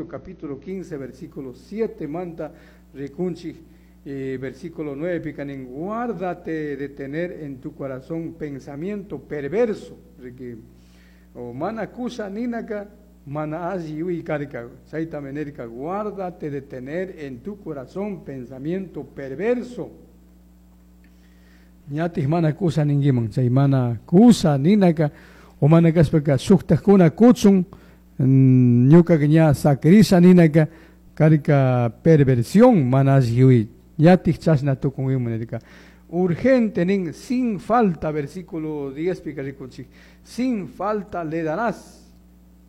Capítulo 15, versículo 7 manta rikunchik, versículo 9 pica nin: "Guárdate de tener en tu corazón pensamiento perverso". Riki, o mana kusha ninaka mana alli yuyay karka. Chaytami nirka: "Guárdate de tener en tu corazón pensamiento perverso". Ñatik mana kusha ninkiman, chay mana kusha ninaka o mana kashpaka shuktakuna kuchun, ñukaka ña sakirisha ninaka karka perversión, mana alli yuyay. Ñatik chashna tukunkiman nirka. Urgente nin, sin falta, versículo 10 pika rikunchik: "Sin falta le darás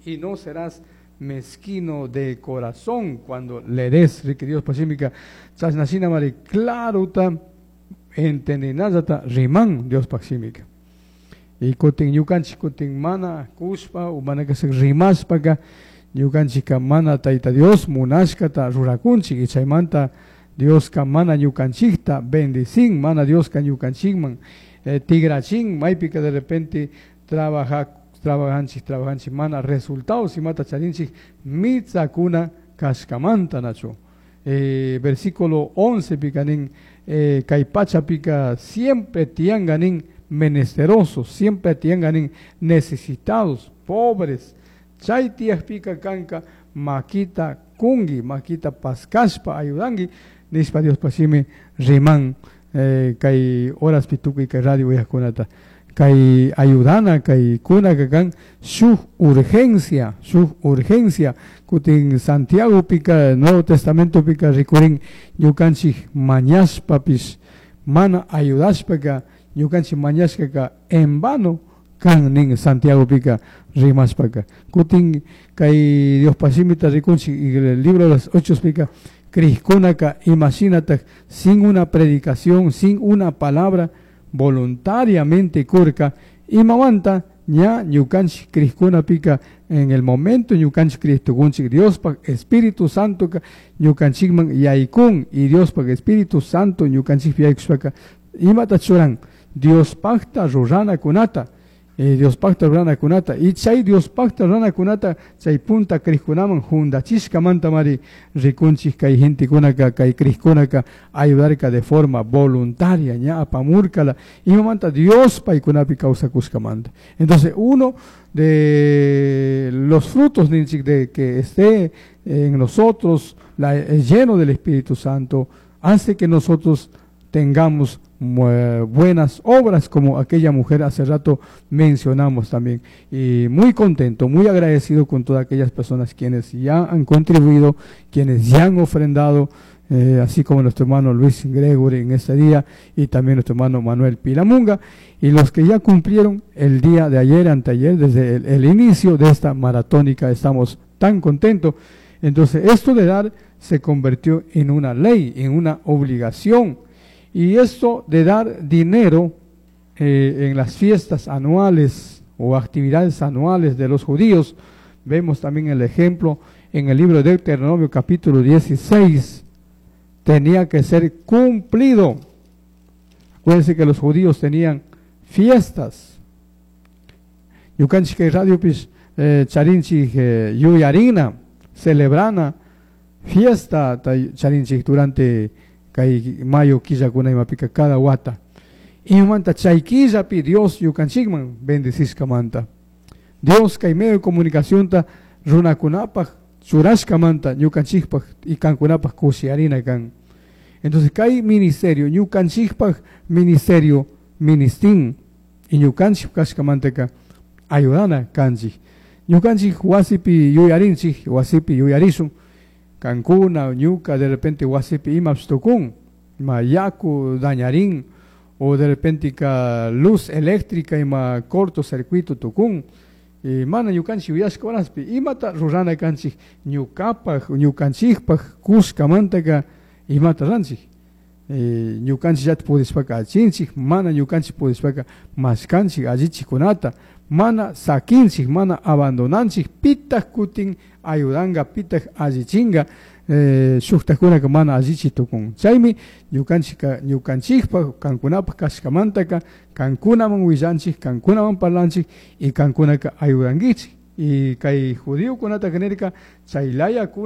y no serás mezquino de corazón cuando le des". Riki, Dios shimika chashna shinamari clarota entendinallata riman Dios shimika. Y kutin ñukanchik kutin mana kushpa o mana kasha rimashpaka ñukanchikka mana Tayta Dios munashkata rurakunchik y chaymanta Dioska mana ñukanchikta bendicin, mana Dioska ñukanchikman tigrachin. Maypika de repente trabajanchik, trabajanchik, mana resultados imata charinchik mitsakuna kashkamanta, nachu? Versículo 11 pika nin, kay pachapika siempre tiyanka nin menesterosos, siempre tiyanka nin necesitados, pobres. Chay tiyakpika kanka makita kungi, makita paskashpa ayudanki nishpa Dios shimi riman. Kay horaspi tukuy kay radio uyajkunata, kay ayudana, kay kunaka kan shuk urgencia, shuk urgencia. Kutin Santiago pika, Nuevo Testamento pika rikurin, ñukanchik mañashpapish mana ayudashpaka ñukanchik mañashkaka en vano kan nin, Santiago pika rimashpaka. Kutin kay Dios shimita rikunchik, el libro de los Hechos pika crijkunaka imashinatak sin una predicación, sin una palabra, voluntariamente kurka. Imamanta? Ña ñukanchik crijkunapika en el momento ñukanchik crij tukunchik, Diospaj Espíritu Santo ñukanchikman yaykun y Diospaj Espíritu Santo ñukanchikpi yaykushpaka imata churan? Diospajta ruranakunata, Diospajta ruranakunata. Y chay Diospajta ruranakunata chay punta crijkunaman jundachishkamanta mari rikunchik kay gentekunaka, kay crijkunaka ayudarka de forma voluntaria, ña apamurkala. Imamanta? Dios paykunapi kawsakushkamanta. Entonces, uno de los frutos ninchik de que esté en nosotros lleno del Espíritu Santo hace que nosotros tengamos buenas obras como aquella mujer hace rato mencionamos también. Y muy contento, muy agradecido con todas aquellas personas quienes ya han contribuido, quienes ya han ofrendado, así como nuestro hermano Luis Gregory en este día y también nuestro hermano Manuel Pilamunga y los que ya cumplieron el día de ayer, anteayer, desde el inicio de esta maratónica. Estamos tan contentos. Entonces, esto de dar se convirtió en una ley, en una obligación. Y esto de dar dinero en las fiestas anuales o actividades anuales de los judíos, vemos también el ejemplo en el libro de Deuteronomio capítulo 16, tenía que ser cumplido. Acuérdense que los judíos tenían fiestas. Ñukanchik radiopish charinchik yuyarina, celebrana fiesta charinchik durante kay mayo killakuna imapika cada wata. Imamanta? Chay killapi Dios ñukanchikman bendecishkamanta. Dios kay medio de comunicación runakunapaj churashkamanta ñukanchikpaj y kankunapaj kushiyarina kan. Entonces, kay ministerio, ñukanchikpaj ministerio ministin y ñukanchik kashkamantaka ayudana kanchik. Ñukanchik wasipi yuyarinchik, wasipi yuyarishun, kankuna, ñuka, de repente wasipi imapish tukun, ima yaku dañarin, o de repente ka luz eléctrica ima cortocircuito tukun, y mana ñukanchik yuyashka horaspi, imata rurana kanchik ñukapaj, ñukanchikpaj kushkamantaka imata ranchik? Ñukanchik llata pudishpaka allichinchik, mana ñukanchik pudishpaka mashkanchik allichikunata, mana sakinchik, mana abandonanchik. Pitaj kutin ayudanga, pitaj allichinga? Shuktajkunaka mana allichi tukun. Chaymi ñukanchika ñukanchikpaj kankunapaj kashkamantaka kankunaman willanchik, kankunaman parlanchik y kankunaka ayudankichik. Y kay judiokunata nirka chay layakuna.